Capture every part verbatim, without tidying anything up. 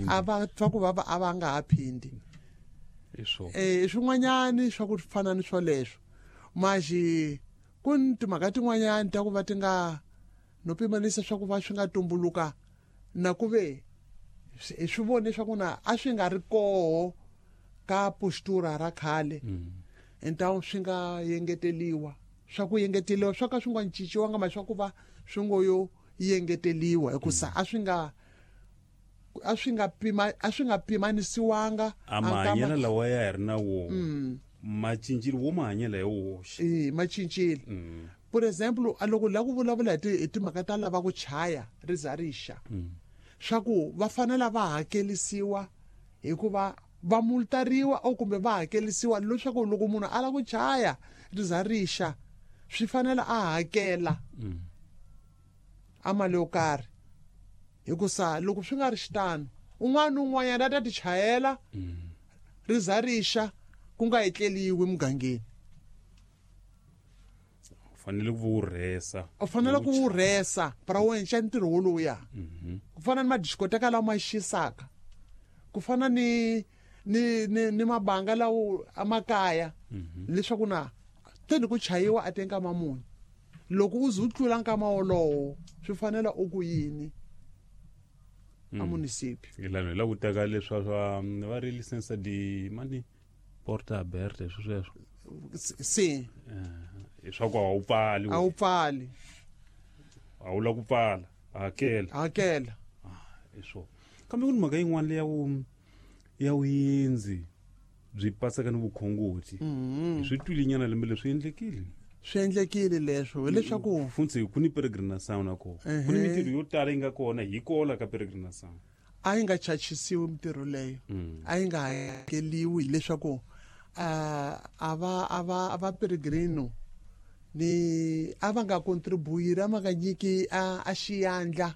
A va twa ku vava a va nga ha phindi. Eh swin'wanyani swa ku fana ni swoleswo. Maxi ku ni timhaka tin'wanyani ta ku va ti nga no pimanisa swa ku va swi nga tumbuluka na ku ve hi swi vone swa ku na a swi nga ri koho ka postura ra khale. Entawu swi nga yengeteliwa swa ku yengeteliwa swa ka swi nga cinciwanga ma swa ku va swi ngo yo yengeteliwa hikusa a swi nga a swi nga pima a swi nga pimanisiwanga a mahanyelo lawa ya hi ri na wo ma cincile wo mahanyelo ya woxe eh ma cincile. For example a loko la ku vulavula hi timhaka ta lava ku chaya ri za rixa swa ku va fanele va hakelisiwa hikuva va multariwa o kumbe va hakelisiwa leswaku loko munhu a lava ku chaya ri za rixa swi fanele a hakela a mali yo karhi hikusa loko swi nga ri xitano un'wana un'wanyana a ta ti chayela ri za rixa ku nga etleliwi mugangeni. U fanele ku wu rhesa u fanele ku wu rhesa para wu endla ntirho woluya ku fana ni madiskoteka lawa ma xisaka ku fana ni ni ni ni mabanga lawo amakaya leswaku na teni ku chayiwa a tenga mamuni loko u ze u tlula nkama wolowo swi fanela u ku yini a municipio ilano hi la ku teka leswa swa va ri license di mani porta aberta swi sweswo si swa ku a wu pfali a wu pfali a wu la ku pfala hakela hakela hi swona. Kambe ku ni mhaka yin'wana leya wu ya vuyendzi byi paseka ni vukhongoti swi twile lembe leswi endlekile swi endlekile leswo hileswaku funtsi ku ni peregrinação na kona ku ni mintirho yo tala yi nga kona hi kola ka peregrinação a yi nga chachisiwi mintirho leyo a yi nga hakeliwi hileswaku a va a va a va peregrino ni a va nga contribuiri a va nga nyiki a a xiyandla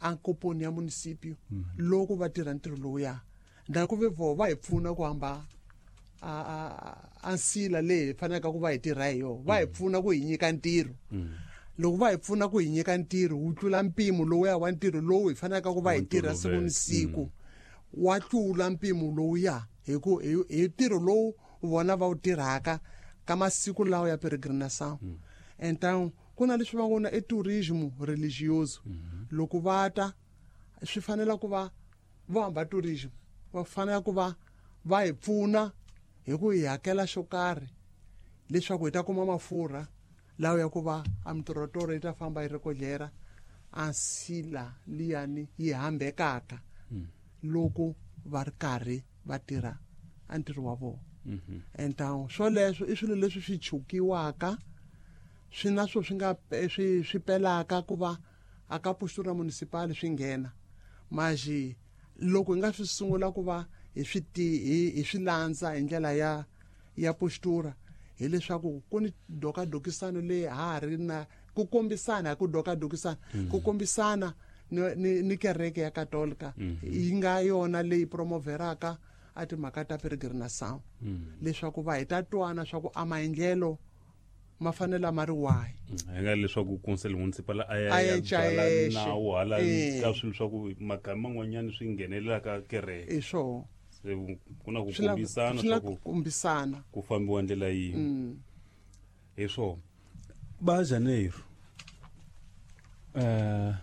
a nkoponi ya municipio loko va tirha ntirho lowuya na ku ve vo va hi pfuna ku hamba a a a nsila leyi faneleke ku va hi tirha hi yona va hi pfuna ku hi nyika ntirho loko va hi pfuna ku hi nyika ntirho wu tlula mpimo lowuya wa ntirho lowu hi faneleke ku va hi tirha siku ni siku wa tlula mpimo lowuya hi ku hi ntirho lowu vona va wu tirhaka ka masiku lawa ya peregrinação. Então ku na leswi va ngo na i tourismo religioso loko va ta swi fanela ku va vo hamba tourism va fanela ku va va hi pfuna hi ku hi hakela xo karhi leswaku hi ta kuma mafurha lawa ya ku va a mitorotoro yi ta famba yi ri kodlera a nsila liyani yi hambekaka loko va ri karhi va tirha a ntirho wa vona. Então swoleswo i swilo leswi swi chukiwaka swi na swo swi nga swi swi pelaka ku va a ka postura municipal swi nghena maxi loko hi nga swi sungula ku va hi swi hi swi landza hi ndlela ya ya postura hileswaku ku ni dokadokisano leyi ha ri na ku kombisana ku dokadokisana ku kombisana ni, ni, ni kereke ya katolika yi nga yona leyi promoveraka a timhaka ta peregrinação leswaku va hi ta twana swa ku a maendlelo ma fanele ma ri wahi hi nga leswaku council municipal a ya ya byala nawu hala ka swilo swa ku magama man'wanyana swi nghenelela ka kereke hi swona se ku na ku kombisana swa ku kombisana ku fambiwa ndlela yin'we hi swona. Ba Janeiro eh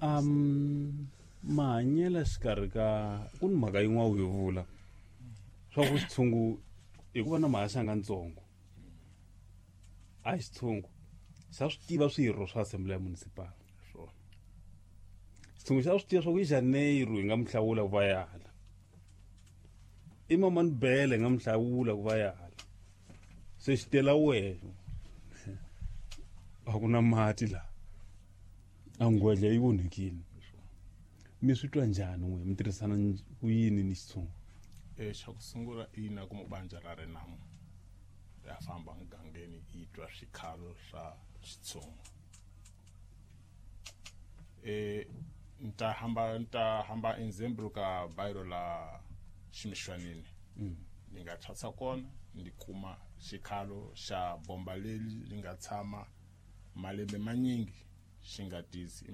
um mahanyelo xikarhi ka ku ni mhaka yin'wana u yi vula swa ku xitshungu hikuva na mahaxanga ntsongo a xitshungu xa swi tiva swirho swa assembly ya municipal xitshungu xa swi tiva swa ku i Janeiro hi nga mi hlawula ku va yala i Mamani Bele hi nga mi hlawula ku va yala se xi tela wena a ku na mati laha a ngwedla yi vonhekile mi swi twa njhani n'we mi tirhisana ku yini ni xitshungu? E xa ku sungula ina ku mubanja ra Renamo ya famba mugangeni yi twa swikhalo swa xitshungu e nta hamba nta hamba example ka bairo la Ximixwanini ni nga thatsa kona ndi kuma xikhalo xa bomba leli li nga tshama malembe manyingi xi nga tisi